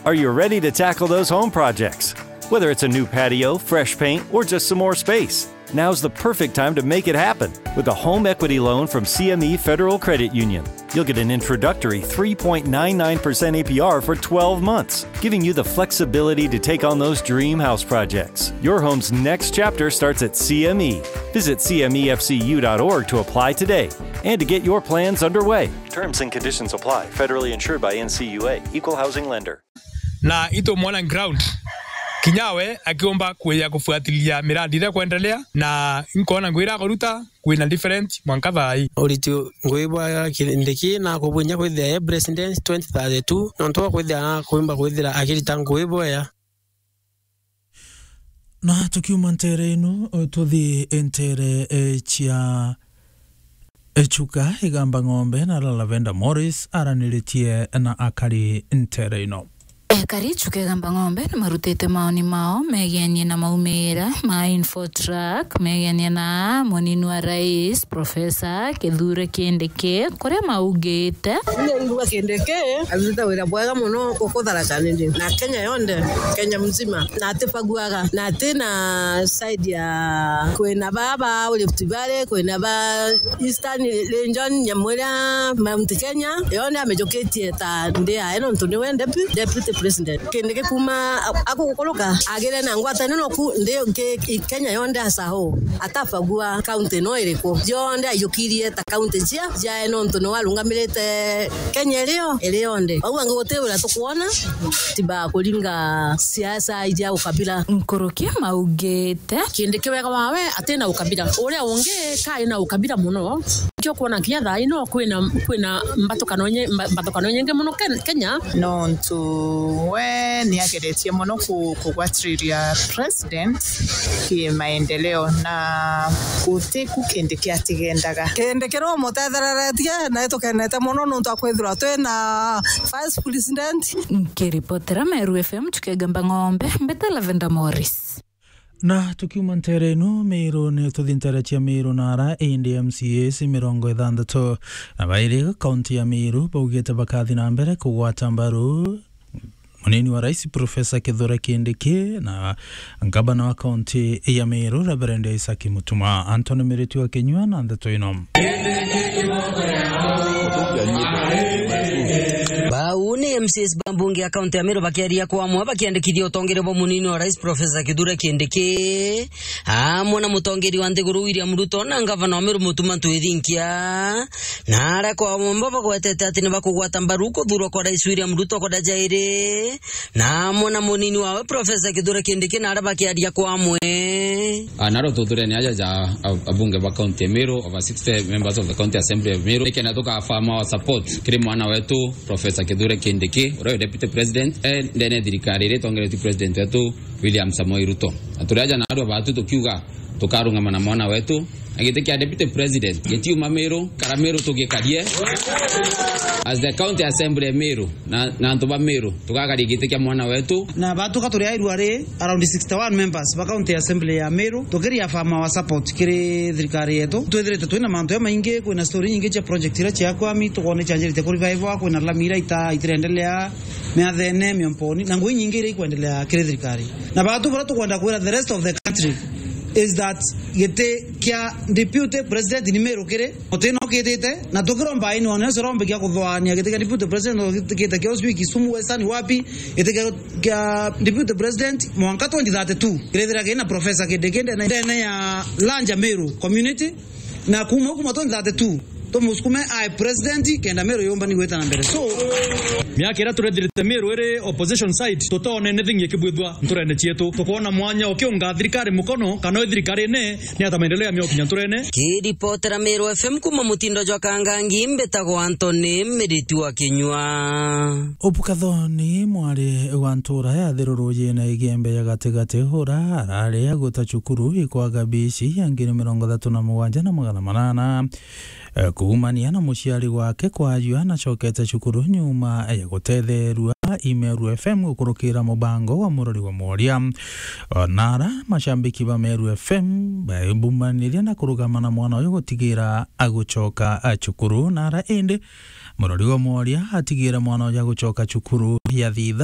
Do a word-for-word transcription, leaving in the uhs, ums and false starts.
Are you ready to tackle those home projects? Whether it's a new patio, fresh paint, or just some more space, now's the perfect time to make it happen with a home equity loan from C M E Federal Credit Union. You'll get an introductory three point nine nine percent A P R for twelve months, giving you the flexibility to take on those dream house projects. Your home's next chapter starts at C M E. Visit C M E F C U dot org to apply today and to get your plans underway. Terms and conditions apply. Federally insured by N C U A. Equal housing lender. Na itumwona ground. Kinya we akiumba kuya kufuatilia miradi iria kwendelea, na nkona ngwira kuruta kwina different mwanka thaa ii. Uritu ngui bwa Kindiki na kubwinya kwithira e president twenty thirty-two, nontu bwa kwithira na kuimba kwithira akirita ngui bwea. Na tukiuma ntere ino, tuthi ntere, eh, cia, eh, Chuka Igamba Ng'ombe, na Lavenda Morris araniritie na akari ntere ino. Ekari Chuka Igamba Ng'ombe ni marutite maoni mao megenie na maumira ma Infotrack, megenie na munini wa rais, Professor Kithure Kindiki, kuria maugite. Ningwa Kindiki arutite wira bwega mono guku Tharaka Nithi na Kenya yonthe, Kenya mzima, na atibaguaga, na ati na side ya kwina baba Rift Valley, kwina ba Eastern Region, Nyamwira, Mount Kenya yonthe amijukitie ta ndi yae, nontu niwe depu-, deputy president. Kindiki kuma a-, akugukuruka agire na ngwataniro ku ndi nki-, i Kenya yonthe as a whole, atabagua county no iriku, yonthe aiyukirie ta county cia ciae, nontu niwe arungamirite Kenya irio iri yonthe. Bau bangi guti wira tukwona, tiba kuringa siasa ija ukabila. Nkuruki maugite. Kindiki wega wawe atina ukabila. Uria ungi kai na ukabila mono. Kio kwona kinya thaa ino kwina, kwina mbatukano nye-, mba-, mbatukano nyingi mono Ken-, Kenya. Nontu we niageretie mono ku-, kugwatiriria president ki maendeleo na gutiku Kindiki atigendaga. Kindiki umutethereretie na itukenete mono nontu akwithirwa twina vice president. Nkiripotera Meru F M Chuka Igamba Ng'ombe, mbeta Lavenda Morris. Na tukiuma ntere ino Meru, ni tuthi ntere cia Meru na ara indi M C As mirongo ithanthatu na bairi kaunti ya Meru baugite bakathi na mbere kugwata mbaru munini wa rais Professor Kithure Kindiki na ngavana wa kaunti ya Meru Reverend Isaac Mutuma. Anthony Miriti wa Kinyua na ndeto ino. Bau ni M C As ba mbunge ya kaunti ya Meru bakiaria kwa amwe bakiandikithia utongere bwa munini wa rais Professor Kithure Kindiki, amwe na mutongeri wa nthiguru William Ruto na ngavana wa Meru Mutuma Ntwithinkia, na aria kwa amwe bagwetete ati ni bakugwata mbaru kuthurwa kwa rais William Ruto kwa ndeja iri, na amwe na munini wawe Professor Kithure Kindiki na aria bakiaria kwa amwe. Ah, naro tuthurene aja ja ab-, abunge ba county ya Meru, over sixty members of the County Assembly of Meru, nikenda tukafirm our support kiri mwana wetu Professor Kithure Kindiki, uria wi Deputy President, eh, ndene thirikari iria itongeretue President wetu William Samoei Ruto. Na turi aja na andu batu tukiuga tukarungama na mwana wetu, na giti kia Deputy President gitiuma Meru, kara Meru tugikarie. As the County Assembly ya Meru, na, na antu ba Meru, tugakaria giti kia mwana wetu. Na batuka turi airua ri around sixty-one members ba County Assembly ya Meru, tukiria affirm our support kiri thirikari yetu. Twithirite twina mantu jamaingi, kwina story nyingi cia project iria ciakwami, tukwona icanjirite ku revival, kwina lami iria ita-, itirendelea, miathene, miomponi, na ngui nyingi iria ikwendelea kiri thirikari. Na batu baria tukwenda kwira the rest of the country is that giti kia Deputy President ni Meru kiri, muti no kitite, na tukiromba ini one cio rombe kia kuthwania giti kia Deputy President, giti kite kia ucio Kisumu Western wapi, giti kia, kia Deputy President mwanka twenty thirty-two. Kirethira kina Professor Kindiki ndene, ndene ya larger Meru community, na kuma kuma twenty thirty-two tumusukume ae president kenda Meru yumba ni gwita na mbere. So, miaka iria turethirite Meru iri opposition side, tutone anything ikibwithwa nturene cietu. Tukwona mwanya ukiunga thirikari mukono, kana wi thirikari ine, ni ata maendeleo ya miokinya nturene. Kiripotera Meru F M kuma mutindo jwa Kangangi, mbitagwa Anthony Miriti wa Kinyua. Ubukathoni mwari wa ntura ya Thiru Rujine Igembe ya gatigati, ura arari aguta cukuru ikwaga bici ya ngiri mirongo ithatu na mugwanja na magana manana. Eh, kuumania na muciari wake kwajua nacokete cukuru nyuma ya gutetherua i Meru F M gukurukira mubango wa Murori wa Mworia. Onara macambiki ba Meru F M baibumaniria na kurugama na mwana uyu gutigira agucoka, a, cukuru. Nara indi Murori wa Mworia atigira mwana uyu agucoka cukuru ya thitha.